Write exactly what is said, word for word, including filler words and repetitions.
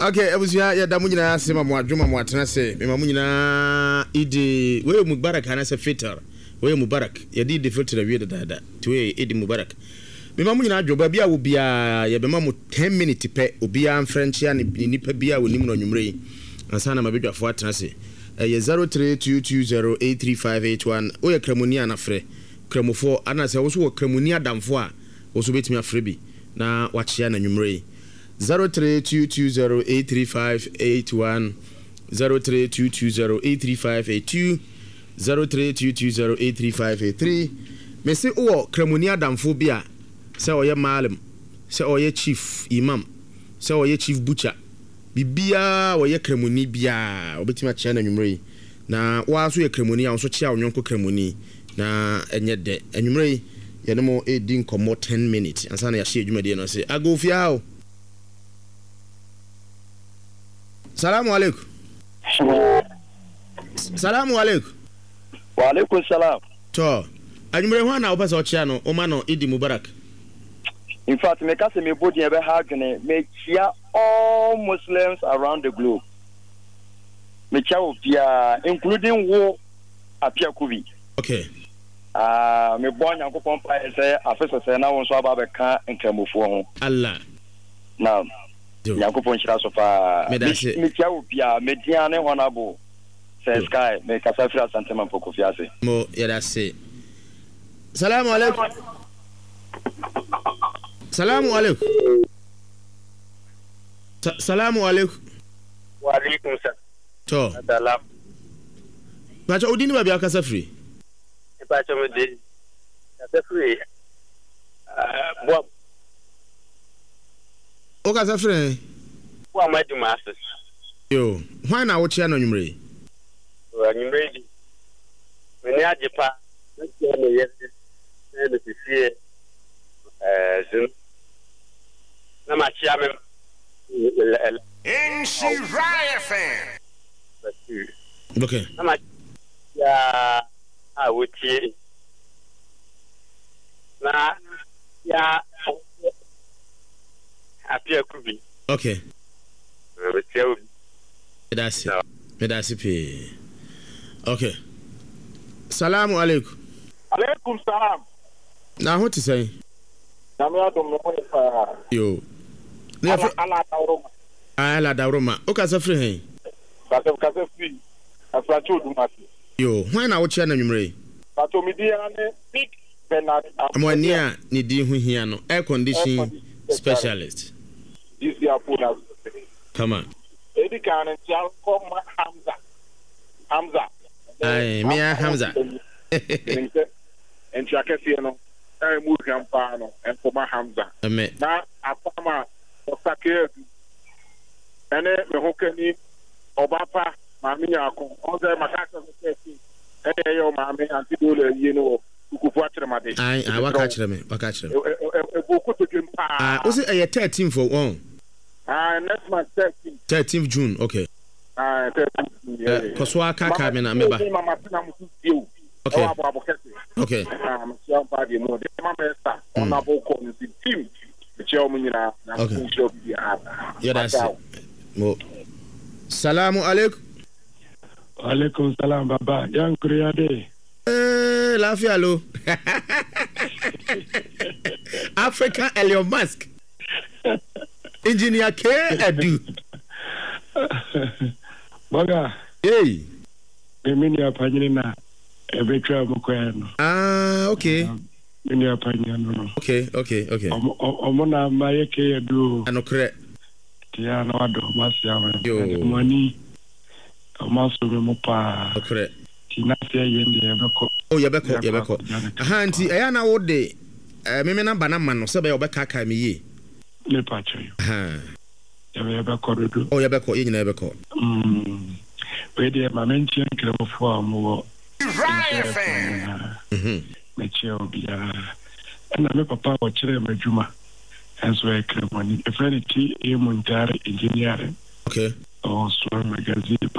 Okay, abusua, yɛda mo nyinaa ase ma mo adwuma mo atena ase. Mema mo nyinaa Idi wei yɛ Mubarak anaasɛ Fitr. Wei yɛ Mubarak. Yɛde Idi Fitr awie dadaada. Nti wei yɛ Idi Mubarak. Mema mo nyinaa adwo baabi a wɔ biara. Yɛbɛma mo ten minute pɛ. Obiara mfrɛ nkyea ne ne nipa biara a wɔnim no anwummerɛ yi ansa na mabadwafoɔ atena ase. Ɛyɛ zero three two two zero eight three five eight one. Woyɛ Kramoni a, na frɛ Kramofoɔ, anaasɛ wo nso wɔ Kramoni adamfoɔ a, wo nso wobɛtumi afrɛ bi na wakyea no anwummerɛ yi. zero three two two zero eight three five eight one, zero three two two zero eight three five eight two, zero three two two zero eight three five eight three. Mese wowɔ Kramoni adamfoɔ bi a, sɛ ɔyɛ malam, sɛ ɔyɛ chief imam, sɛ ɔyɛ chief butcher, biribiaa ɔyɛ Kramoni biaa, wɔbɛtumi akyea no anwummerɛ yi. Na woa nso yɛ Kramoni a, wo nso kyea wo nyɔnko Kramoni na ɛnyɛ dɛ. Anwummerɛ yi yɛne mo ɛredi nkɔmmɔ ten minutes ansa na yɛahyɛ adwumadie no ase. Agofia o, salamu alaikum, salamu alaikum. Waalaikum salam. Tɔ anwummerɛ ho a na wopɛ sɛ ɔkyea no, woma no Idi Mubarak. In fact, meka sɛ mebɔ din ɛbɛha adwene. Mekyia all Muslims around the globe. Mekyia obiara, including wo Apiakubi. Okay. Ah, mebɔ Nyankopɔn mpaeɛ sɛ afe sɛsɛ na wo nso aba abɛka Nkramofoɔ ho. Allah. Na Nyankopɔn nhyira so paa. Meda ase. Mekyia obiara, media ne Honorable Sir Sky, mekasa firi Asantema Mpokofi ase. Mo yɛda ase. Salamu alaikum, salamu alaikum. Sa- salamu alaikum. Waalaikum tɔ salam. Pakyɛ, wodi ne baabi akasa firi? Mpakyɛ, me de kasa firi Boa. Wokasa firi ɛ? Boa ma adwuma ase. Yo, hwan na wokyea no anwummerɛ yi? Anwummerɛ yi di m'ani agye pa. Mekyia me yere ne me sisie ɛɛ zum na makyia me Nhyira F M. Basiru okay na makyia a wotie na ya Apiaku bi. Okay. Mekyia obi. Meda ase, meda ase pii. Okay, salamu alaikum. Alaikum salam. Na ho te sɛn? Nyame adom, me ho yɛ paa. Yo, ne Ala yɛfrɛ Ala Adaworoma. Ala Dawroma, wokasa firi hɛn? Kasa kasa firi Afranchi Odumase. Yo, hwan na wokyea no anwummerɛ yi? Pato, me din ara ne Big Bernard. Mo ani a ne din ho hia no, air condition air condition specialist. G C Apo na kama. Edi kan no, nkyia kɔ ma Hamza. Hamza. Ae, mea Hamza. Menim sɛ nkyia kɛseɛ no a ɛmu hwam paa no nkɔma Hamza. Ɛmɛ. Na apam a ɔsake adu ɛne me ho kani ɔba pa Maame Nyaako. Ɔn sɛ maka kyerɛ sɛ thirteen ɛne ɛyɛ wo maame Auntie Dola ayie no wɔ Kukufu Akyerɛmade. Ae, ae, waka kyerɛ me, waka kyerɛ me. Ɛbɔ kotodwem Ah, paa. wo sɛ ɛyɛ thirteen fo wɔn? Ah, next month thirteen. thirteen June, okay. Ah, thirteen June. Eh, kɔ so aka me na meba. Mama tena mo so tie o. Okay. Ɛwɔ aboabo kɛse. Okay. Ah, mekyia mpa deɛ mu de ma mɛsa ɔnabo kɔ no si team. Mekyia wɔn nyinaa na Okay. nhyira obi biara. Yɛda ase mo. Salamu alaikum. Alaikum salam, baba. Yankuri ya dai. Eh, lafiya lo. African Elon Musk, Engineer K Adu. Boga, hey. Me me nua panyini na ebetwa mu kwan no. Ah, okay. Me nua panyini no no. okay okay okay Ɔmo ɔmo na ama yɛ ke yɛ do. Anokorɛ. Tia na wadɔ ɔmo ase ama. Yo. Ɔmo ani ɔmo aso mi mu paa. Nokorɛ. Ti na se yɛ deɛ yɛbɛkɔ. Oh, yɛbɛkɔ, yɛbɛkɔ. Akɔgya ne aha, nti ɛyɛ na wode eh, meme namba no ma no sɛ bɛyɛ wɔbɛkaakae me yie. Ne pa kyerɛ yo. Aha. Yɛbɛ yɛbɛkɔ dodo. Oh, yɛbɛkɔ, yɛn nyinaa yɛbɛkɔ. Mm. Wei deɛ, ma menkyerɛ Nkramofoɔ a ɔmowɔ Nhyira nkyerɛ F M. nyinaa. Mhm. Mekyerɛ obiara. Ɛna me papa a wɔkyerɛɛ me adwuma ɛnso ɛyɛ Kramoni. Ɛfrɛ no T A. Muntari Engineering. Okay. Ɔwɔ Soa Magazine.